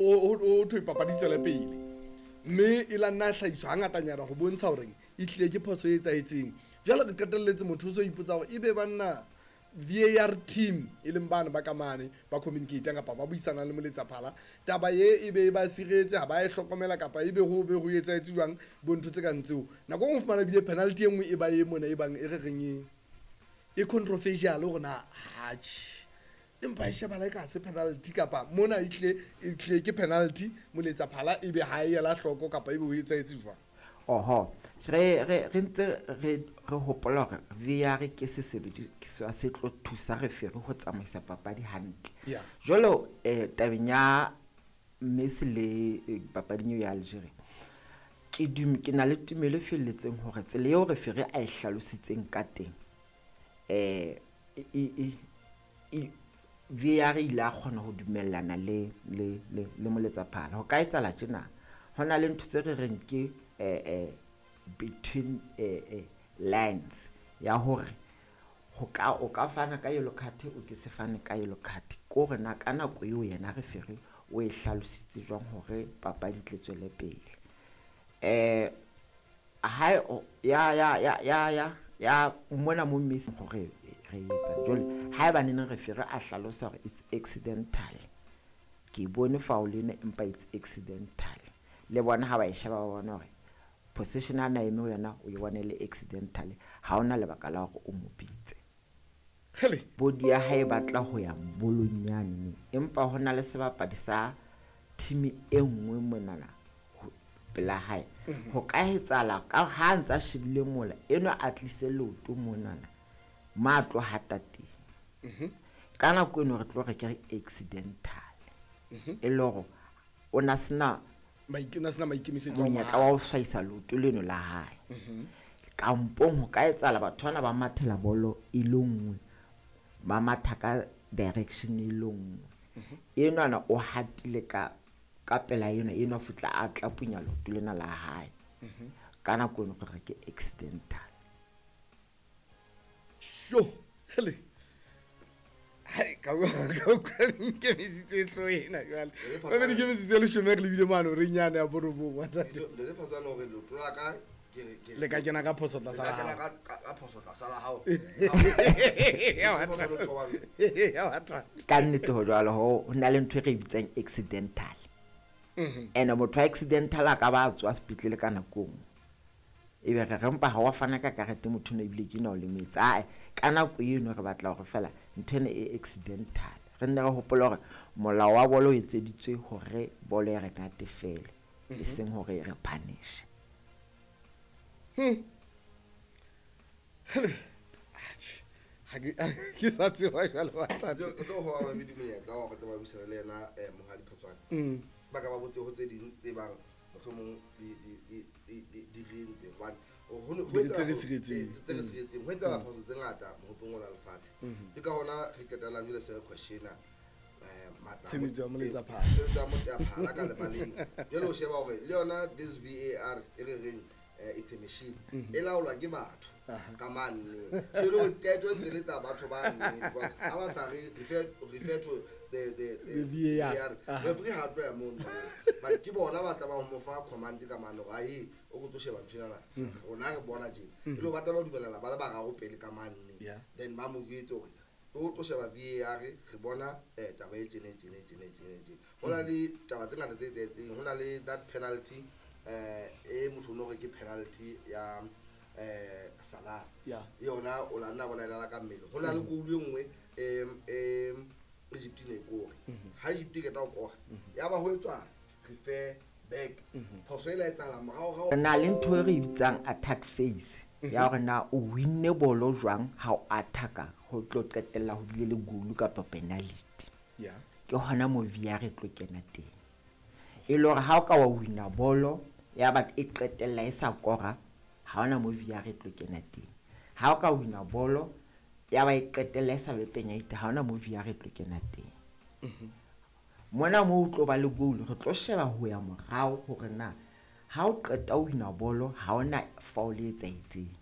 O thwe papadi tswele pele, mme e la nna hlahiswa hangatanyana go bontsha goreng e tlile ke phoso e etsahetseng. Jwale re qetelletse motho o so ipotsa gore ebe banna VAR team e leng bane ba kamane ba communicatang kapa ba buisanang le moletsaphala, taba ye e be e ba siretse ha ba e hlokomela kapa ebe ho be ho etsahetse jwang bo ntho tse kang tseo. Nako e nngwe o fumana ebile penalty e nngwe e ba e mona e bang e re reng e controversial gore na atjhe, empa e shebala e ka se penalty kapa mona e tlile ke penalty, moletsaphala ebe ha e ela hloko kapa ebe ho etsahetse jwang. Oho, re ntse re hopola hore VAR ke sesebediswa se tlo thusa referee ho tsamaisa papadi hantle. Jwalo tabeng ya Messi le papading eo ya Algeria, ke na le tumelo e felletseng hore tsela eo referee a e hlalositseng ka teng, VAR ile a kgona ho dumellana le moletsaphala. Ho ka etsahala tjena, ho na le ntho tse re reng ke between lines ya hore o ka fana ka yellow card, o ke se fane ka yellow card. Ko hore na ka nako eo yena referee o e hlalositse jwang hore papadi tle tswele pele. Ha ya mona mo Messi hore re etsa jwale, haeba neng referee a hlalosa hore it's accidental, ke bone foul ena empa it's accidental, le bona ha ba e sheba ba bona hore position a na eme ho yona o e bone le accidental, ha ona lebaka la hore o mo bitse. Body ya hae batla ho ya bolong yane, empa hona le sebapadi sa team e nngwe monana pela hae. Ho ka etsahala ka ha ntsa shebile mola eno a tlise leoto monana ma tlo hata teng. Ka nako eno re tlo re ke re accidental, e le hore o na sena monyetla wa ho hlahisa leoto leno la hae. Kampong ho ka etsahala batho bana ba mathela bolo e le nngwe, ba matha ka direction e le nngwe. Enwana o hatile ka pela ena, eno futla a tla punya leoto lena la hae. Ka nako eno re ke accidental. Sho, hele. Hai, ka nkemesitse hlo ena jwale. Ba be dikemisitse le shome re lebile mane re nyane ya borobong wa tate. Le photswana hore leoto la ka le ka kena ka phoso tlasa la hao. Le ka kena ka phoso tlasa la hao. Ka nnete ho jwalo, ho na le ntho e re bitsang accidental. Ene motho accidental a ka ba tswa sepetlele ka nako nngwe, ebe re re mpa ha wa fana ka karete motho no ebile ke na o lemetse. Ae, ka nako eno re batla hore fela ntho ena e accidental. Re nne re hopola hore molao wa bolo o etseditswe hore bolo e re natefele, e seng hore re punish. Ke sa tseba jwale wa tate. O tlo ho ba medi monyetla wa hore tle ba buisane le yena Monghadi Phatsoane. Ba ka ba botse ho tse ding tse bang mohlomong di re entse hobane tse re siretseng. Ho etsahala phoso tse ngata mohopong ona lefatshe. Ke ka hona re qetellang jwale se re questiona matla tshebetso ya moletsaphala. Tshebetso ya moletsaphala ka lebaleng. Jwale o sheba hore le yona this VAR e re reng it's a machine e laolwa ke batho ka mane. So le hore qeto e ntse le tsa batho ba nne, because ha ba sa re refer to the VAR. Referee ha tloya mono, but ke bona ba tlamang ho mo fa command ka mane hore ae o go tlo sheba ntho ena, rona re bona tjena. E le ba tla ba dumellana ba le bararo pele ka mane, then ba mo jwetse hore o tlo sheba VAR, re bona taba e tjena tjena tjena tjena tjena. Ho na le taba tse ngata tse etsahetseng, ho na le that penalty e motho no re ke penalty ya Salah. Yona o la nna bona ela ka mmele. Ho na le goal e nngwe Egypt ne kore. Ha Egypt e keta ho kora, ya ba ho etswa refer back. Phoso e la etsahala morao rao. Re na le ntho e re bitsang attack phase ya hore na o winne bolo jwang ha o attacka ho tlo qetella ho bile le goal kapa penalty. Ke hona mo VAR e tlo kena teng. E le hore ha o ka wa wina bolo ya ba e qetella e sa kora, ha ona mo VAR e tlo kena teng. Ha o ka wina bolo ya ba e qetella e sa be penalty, ha ona mo VAR e tlo kena teng. Mona mo o tlo ba le goal, re tlo sheba ho ya morao hore na ha o qeta o wina bolo ha ona foul e etsahetseng.